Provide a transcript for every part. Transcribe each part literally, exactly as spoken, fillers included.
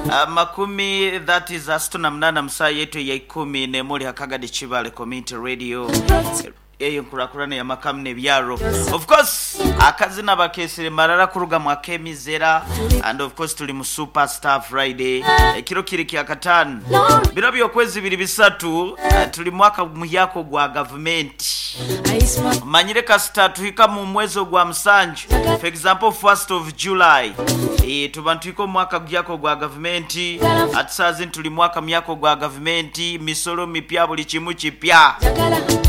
uh, makumi that is asatu na munana musaa yetu ya ikumi nemuli hakagadi Kibale Community Radio eyo nkurakurana ya makamu nebyaro. Of course akazina bakesere marara kuruga mu akemizera, and of course tuli mu Superstar Friday ekiro kiri kya katano biro byokwezi biri bisatu. Uh, tuli mwaka muhyako gwa government manyire kasita tuhika mu mwezi gwa musanju, for example first of July, e, tuba ntuhika mwaka gyako gwa government. Atisazi tuli mwaka myako gwa government, misolo mipya, buli kimu kipya.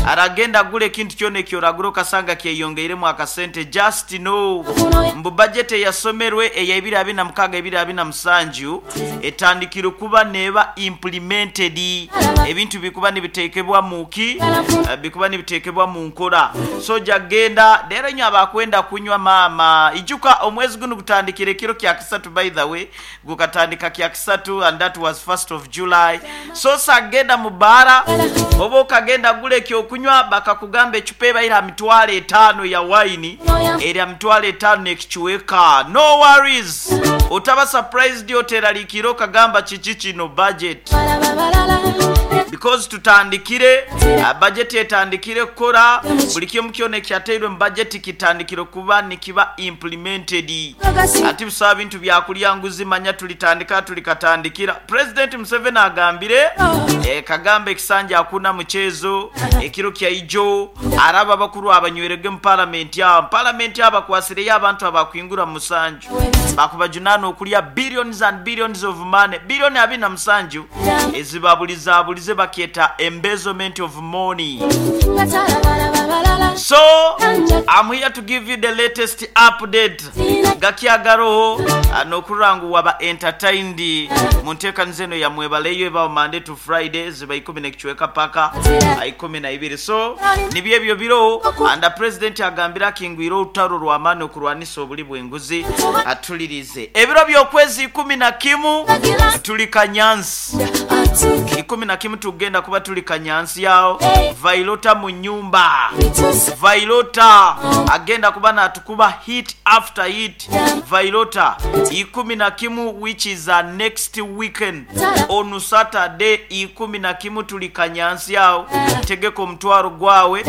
Aragenda gule ekintu kyona ekyoragura okasanga kyeyongeiremu akasente. Just know mbu budget eyasomerwe eya ebiri abiri na mukaaga ebiri abiri na musanju etandikire kuba neba implemented, ebintu bikuba nibitekebwa muki, bikuba nibitekebwa mu nkora. So jagenda lero nyo abakwenda kunywa mama ijuka omwezi guno gutandikire kiro kya kisatu, by the way gukatandika kya kisatu, and that was first of July. So sagenda mubara oba okagenda gule ekyokunywa bakakugamba ecupa ebaira mitwalo etaano ya waini erya mitwalo etaano nekikiweka. No worries, otaba surprised, oteralikira okagamba kiki kino budget, because tutandikire uh, budget etandikire kukora buli kimu kyona ekyateirwe mu budget kitandikire kuba nikiba implemented. Ati bisaba bintu byakulya nguzi manya tulitandika tulikatandikira. President Museveni agambire eh, kagamba ekisanja hakuna mchezo ekiro kya ijo araba bakuru abanywerege mu parliament ya parliament abakwasireyo abantu abakwingura musanju bakubajunana okulya billions and billions of money, billion abiri na musanju ezibabulizabulize bakyeta embezzlement of money. So I'm here to give you the latest update gakyagaroho nokurangu waba entertained mu nteekaniza eno ya mwebaleyo ebawo Monday to Friday ziba ikumi nekichweka paka ikumi na ibiri. So nibyo ebyo biro, and the president agambira akingwire olutalo lw'amaani okulwanisa obuli bw'enguzi. Atulirize ebiro by'okwezi ikumi na kimu tuli Kanyansi, ikumi na kimu tugenda kuba tuli Kanyansi yawo Vailota mu nyumba. Vailota agenda kuba natukuba hit after hit. Vailota ikumi na kimu which is uh, next weekend on Saturday ikumi na kimu tuli Kanyansi yawo. Tegeko omutwaro gwawe,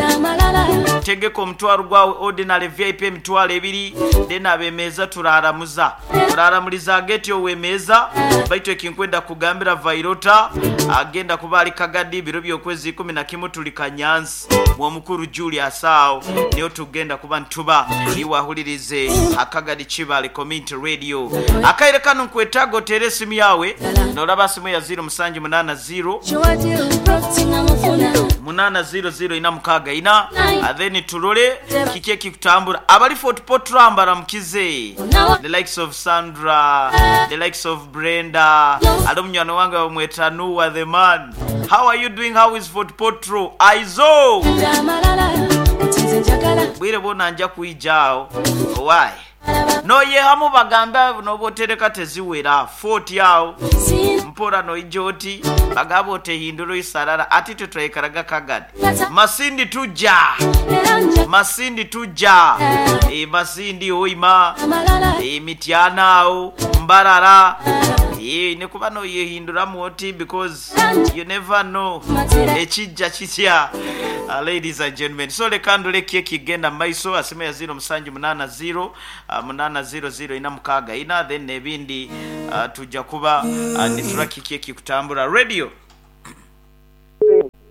tegeko omutwaro gwawe ordinary V I P emitwalo ebiri, then abemeza turaramuza turaramuliza geti owemeza baitu ekinkwenda kugambira Vailota agenda kuba ali Kagadi biro byokwezi ikumi na kimu tuli Kanyansi mwomukuru Julius awo niyo tugenda kuba ntuba iwahulirize Akagadi Kibale Community Radio. Akaire kano nkwetago tere esimu yawe nolaba simu ya zero musanju munana zero munana zero zero ina mukaga ina, then tulole kiki ekikutambura abali Fort Portal baramukize, the likes of Sandra, the likes of Brenda, alo munywano wange bamweta Noah the man. How are you doing? How is Fort Portal? Aizo bwire bona nja kuijao why no yehamu bagamba nobotereka teziwera Fort yao mpora no ijoti bagabo tehinduro isarara ati tutwekaraga Kagadi Masindi tuja Masindi tuja e Masindi oima e Mityana ao Mbarara e nekuba no yehindura muoti because you never know ekijja kitya. Uh, ladies and gentlemen, so lekandule keki genda maiso asime ya zero musanju munana zero uh, munana zero zero ina mukaga ina, then ebindi uh, tujja kuba uh, nituraki keki kutambura radio.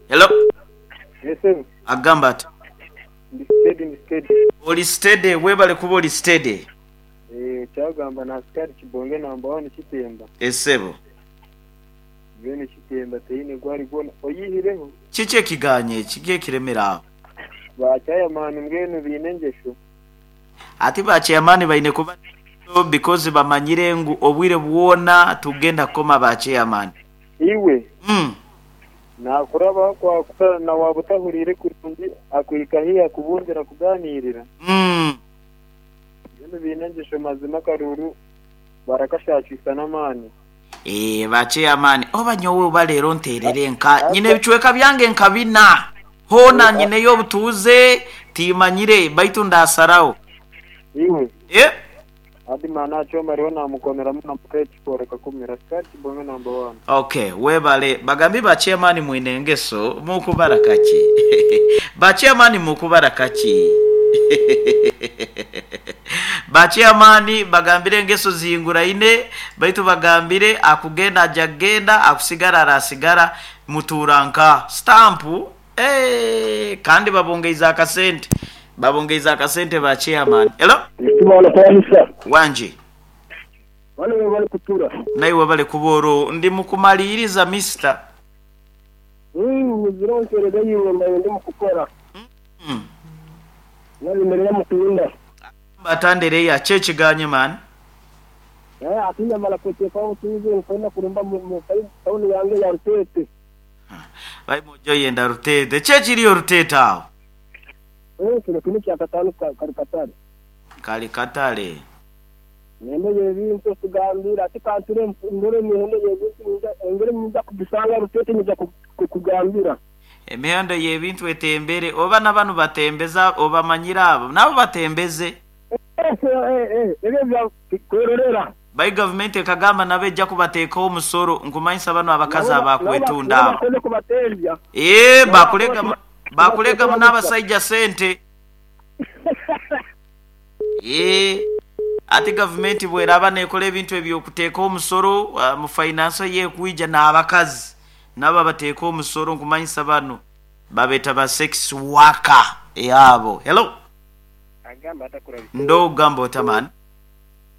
Hello. Yes sir. Agamba ati ndi steady, ndi steady. Oli steady, webale kuba oli steady. Eh, kyagamba na askari Kibonge number one Kitemba. Esebo. Bene Kitemba teine gwali gona oyihireho. Kiki ekiganye kiki ekiremera? Ba chairman mbwenu binengesho. Ati ba chairman baine kuba because bamanyire ngu obwire bwona tugenda koma ba chairman. Iwe. Mm. Na kuraba kwa kutana na wabutahurire kurungi akwika hiya kubundira kuganirira. Mm. Bino binengesho mazima karuru barakashakisa namani. Eh ba chairman oba nyowe oba leero nterere nka nyine ebichweka byange nkabina hona nyine yo butuze timanyire baitu ndasarao. Iwe. Eh Adimana achoma riho namukoneramu namukechikoreka kumira sikari kibonge number one. Okay, webale. Bagambi ba chairman mwine engeso mukubara kaki? Ba chairman mukubara kaki? Ba chairman bagambire engeso zihinguraine, baitu bagambire akugenda aja kugenda, akusigara arasigara, muturanka stampu. Eh, kandi babongeiza akasente, babongeiza akasente ba chairman. Hello. Ekibalo kanisa. Wanje. Wale bali kutura. Naiwe bale kuboro ndi mukumaliriza mister. Mm, zironkerega yiwe mbaye ndi mukukora. Mm. Nabimerera mukunda. Batandere ya chechi ganye man. Eh, atinya mala kuteka utuze nfuna kurumba mu tauni yange ya Rutete. Bai mojo yenda Rutete. Chechi iliyo Rutete awo. Eh, kino kino kya katano kali katale. Kali katale. Nende yebintu tugambira ati kanture ndore mihendo yebintu ngere nyinza kubisanga Rutete nyinza kukugambira. Emihendo yebintu etembere oba nabanu batembeza oba manyira abo nabo batembeze. Eh eh eh ebyo bya kwerorera. Bai government ekagamba nabeja kubateeka omusoro nkumanyisa bano abakazi abakwetunda abo. Bakoze kubatembya. Eh, bakulega bakulega n'abasajja sente. Eh, ati government bweraba nekola ebintu ebyokuteeka omusoro uh, mu finance ye kuija n'abakazi nabo bateeka omusoro nkumanyisa bano babeta ba sex worker yabo. Hello. Agamba atakura Ndo gambo tamani.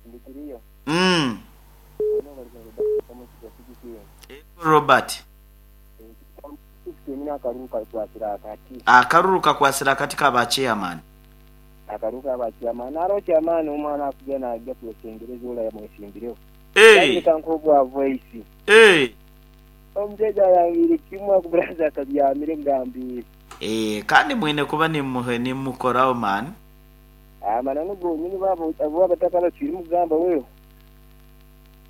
ndikiriyo. Mm. Robert. Akaruru kakwasira katika ba chairman. Akaruka ba chairman. Aro chairman omwana akugena ajja kusengereza ola ya mwesimbireo. Eh. Kankobwa voice. Eh. Omjeja yangire kimwe akuburaza kabyamire ngambi. Eh, kandi mwine kuba ni muhe ni mukorao man. Amana nugo nyini babo abo abatakala kiri mugamba wewe.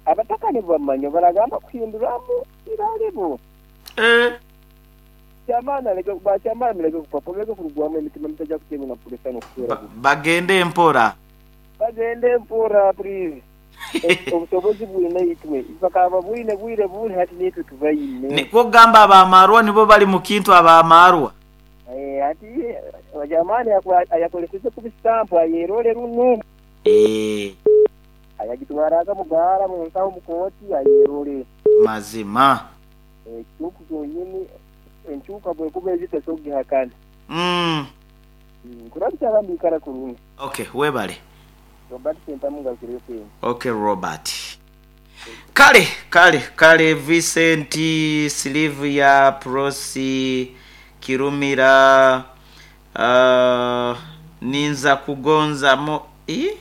Abataka ni bamanyo baragamba kuhinduramu iralebo. Eh. Chamana leke ba chamana leke kupapa leke kurugwamu emitima mitaja kutema na pulesa no kusura. Bagende mpora. Bagende mpora please. Obusobozi bwine itwe. Bakaba bwine bwire bwine hati nitwe tubayine. Niko gamba abamarwa nibo bali mukintu abamarwa. Eh, ati wajamani ayakoleseze kubistampu ayerole runo. Eh. Ayagitwaraga mugara mu nsaho mukoti ayerole. Mazima. Eh, tuku zonyini enchuka bwe kuba eziteso gihakana. Mm. Kurabya bambikara kurungi. Okay, webale. Robert Sentamunga kirese. Okay, Robert. Kale, kale, kale Vincent, Silvia, Prosi, Kirumira, uh, Ninza kugonza mo eh?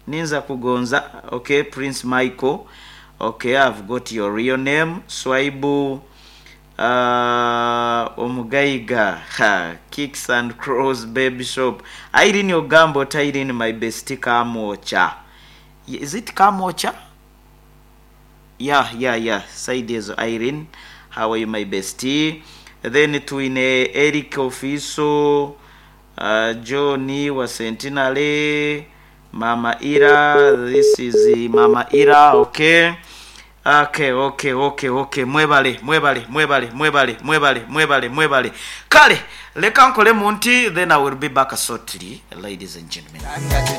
Ninza kugonza. Okay, Prince Michael. Okay, I've got your real name. Swaibu uh, Omugaiga, ha, Kicks and Crows Baby Shop. Irene Ogambo, Irene my bestie Kamocha. Is it Kamocha? Yeah, yeah, yeah. Side is Irene. How are you, my bestie? Then tuine Eric Ofiso, uh, Johnny wa Sentinale, Mama Ira. This is Mama Ira, okay. Okay, okay, okay, okay. Mwebale, mwebale, mwebale, mwebale, mwebale, mwebale, mwebale. Kale, leka nkole munti, then I will be back shortly, ladies and gentlemen.